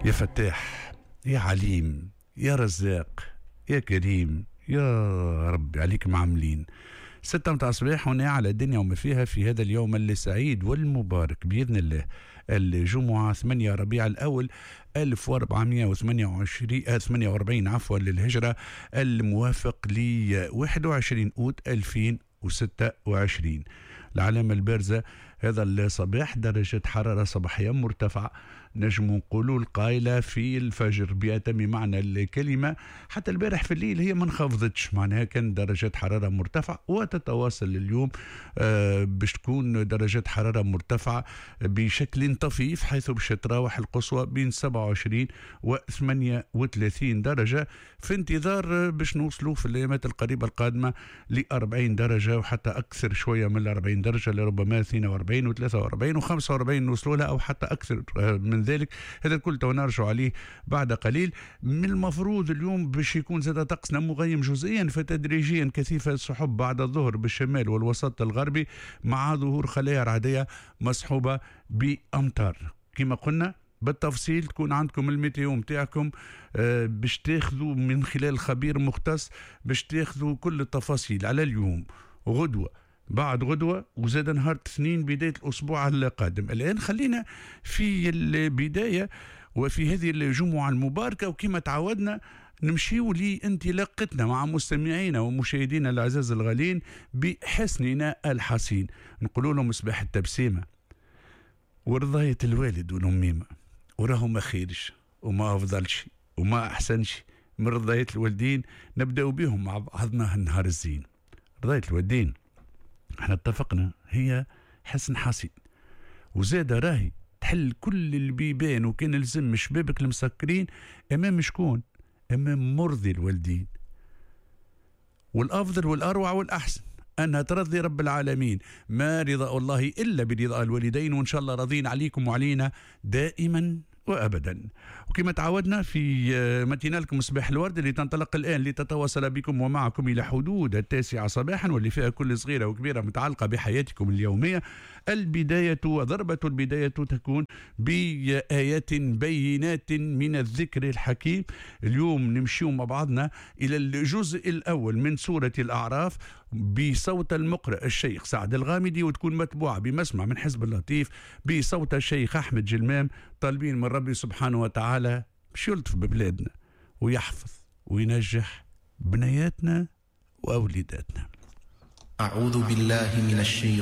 يا فتاح، يا عليم، يا رزاق، يا كريم، يا ربي عليك معاملين. 6 متاع الصباح هنا على الدنيا وما فيها في هذا اليوم السعيد والمبارك بإذن الله، الجمعة 8 ربيع الأول 1428 48 عفوا للهجرة، الموافق ل 21 أوت 2026. العلامة البارزة هذا الصباح درجة حرارة صباحية مرتفعة، نجم نقولوا القايلة في الفجر بأتم معنى الكلمة. حتى البارح في الليل هي ما انخفضتش، معناها كان درجة حرارة مرتفعة وتتواصل اليوم باش تكون درجة حرارة مرتفعة بشكل طفيف، حيث باش تراوح القصوى بين 27 و 38 درجة، في انتظار باش نوصلوا في الأيامات القريبة القادمة ل 40 درجة وحتى أكثر شوية من 40 درجة، لربما 42 و 43 و 45 نوصلوا لها أو حتى أكثر من ذلك. هذا الكل تو نرجع عليه بعد قليل. من المفروض اليوم باش يكون زاد طقسنا مغيم جزئيا فتدريجيا كثيف السحب بعد الظهر بالشمال والوسط الغربي، مع ظهور خلايا رعدية مصحوبة بأمطار. كما قلنا بالتفصيل تكون عندكم ال météo متاعكم باش تاخذوا من خلال خبير مختص، باش تاخذوا كل التفاصيل على اليوم، غدوة، بعد غدوة، وزاد نهار اثنين بداية الأسبوع القادم. الآن خلينا في البداية وفي هذه الجمعة المباركة، وكما تعودنا نمشيو لانطلاقتنا مع مستمعينا ومشاهدينا الأعزاز الغالين بحسننا الحصين. نقول لهم صباح التبسيمة ورضاية الوالد والأميمة، وراهم ما خيرش وما أفضلش وما أحسنش من رضاية الوالدين. نبدأ بهم مع بعضنا النهار الزين. رضاية الوالدين احنا اتفقنا هي حسن حصين، وزاد راهي تحل كل البيبان، وكان لزم شبابك المسكرين امام شكون؟ امام مرضي الوالدين. والافضل والاروع والاحسن انها ترضي رب العالمين، ما رضاء الله الا برضاء الوالدين، وان شاء الله راضين عليكم وعلينا دائما وابدا. وكما تعودنا في matinale مصباح الورد اللي تنطلق الان لتتواصل بكم ومعكم الى حدود 9 صباحا، واللي فيها كل صغيرة وكبيره متعلقه بحياتكم اليومية. البداية وضربه البداية تكون بايات بينات من الذكر الحكيم. اليوم نمشيو مع بعضنا الى الجزء الاول من سورة الاعراف بصوت المقرئ الشيخ سعد الغامدي، وتكون متبوعه بمسمع من حزب اللطيف بصوت الشيخ احمد جلمام. طالبين من ربي سبحانه وتعالى باش يلطف ببلادنا ويحفظ وينجح بنياتنا وأوليداتنا. أعوذ بالله من الشيطان